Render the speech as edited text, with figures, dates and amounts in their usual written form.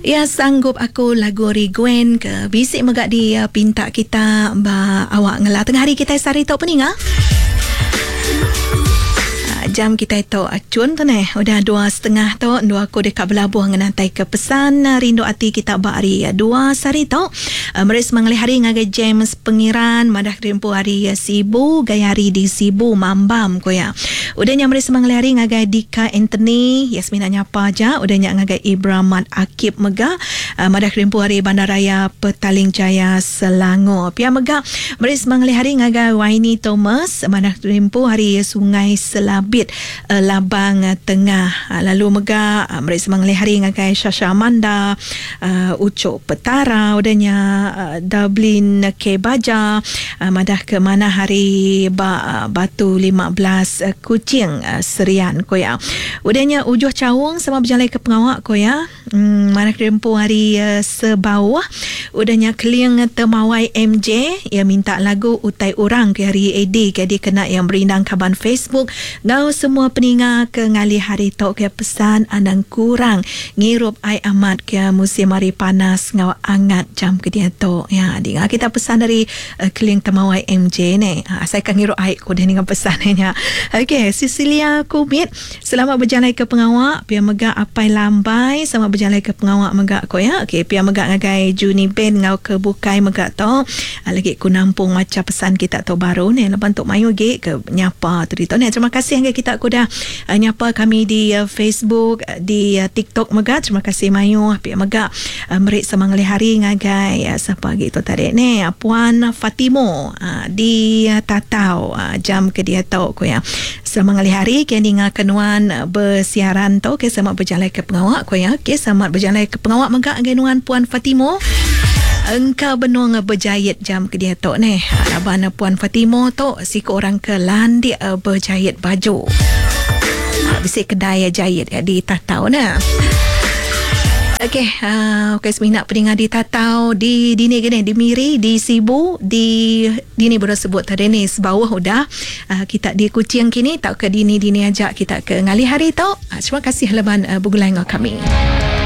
Ya sanggup aku lagu ari Gwen ke bisi mega di pinta kita ba awak ngela tengah hari kitai sehari tu peninga. Jam kitai tu chun tu neh udah 2:30 tu endu aku deka belabuh ngenatai ke pesan rindu ati kita ba hari dua sehari tu. Meri semangalih hari ngagai James Pengiran madah diri empu ari Sibu gaya hari di Sibu Mambam ku iya. Udah nya meri semangalih hari ngagai Dika Anthony iya semina nyapa aja udah nya ngagai Ibra Mat Akib mega madah kerimpu ari Bandaraya Petaling Jaya Selangor. Pia mega meri semangalih hari ngagai Waini Thomas madah kerimpu ari Sungai Selabit Labang Tengah. Lalu mega meri semangalih hari ngagai Shasha Amanda Uchok Petara udah nya Dublin K Baja madah ke manah hari ba Batu 15 Kuching Serian ku iya. Udah nya Ujuh Chaung sama bejalai ke pengawa ku iya madah ke empu hari Sebauh. Udah nya Keling Temawai MJ iya minta lagu Utai Orang ke hari AD ke dikena iya merindang kaban Facebook enggau semua peninga ke ngalih hari tu ke pesan anang kurang Ngirup ai amat ke musim hari panas enggau angat jam ke diatu. Ya, dinga kita pesan ari Keling Temawai MJ ne. Asai ka ngirup ai ku deh ninga pesan iya nya. Okey, Cecilia Kumit, selamat bejalai ke pengawa. Pia mega Apai Lambai, selamat bejalai ke pengawa mega ku iya. Okey, pia mega ngagai Juni Ben enggau ke bukai mega tu. Lagi ku nampung macha pesan kita tu baru ne laban tu mayuh agi ke nyapa tu ditu ne. Terima kasih ngagai kita ku udah Nyapa kami di Facebook, di TikTok mega. Terima kasih mayuh. Pia mega meri sama ngelih hari ngagai sapa agi tu tadi ne Puan Fatimo di Tatau jam ke diatu ku iya. Sama ngelih hari ke ninga ke nuan besiaran tu ke sama bejalai ke pengawa ku iya. Okey selamat bejalai ke pengawa mega ngagai nuan Puan Fatimo. Engka benung bejait jam ke diatu neh. Laban Puan Fatimo tu Siku orang ke landik bejait baju. Bisi kedai jait di Tatau ne. Okey, uh, okey semina peninga di Tatau, di dini gini, di Miri, di Sibu, di dini baru sebut tadi ni sebauh udah. Uh, kita di Kuching kini tauka dini-dini aja kita ke ngalih hari tu. Uh, terima kasih leban uh, begulai enggau kami.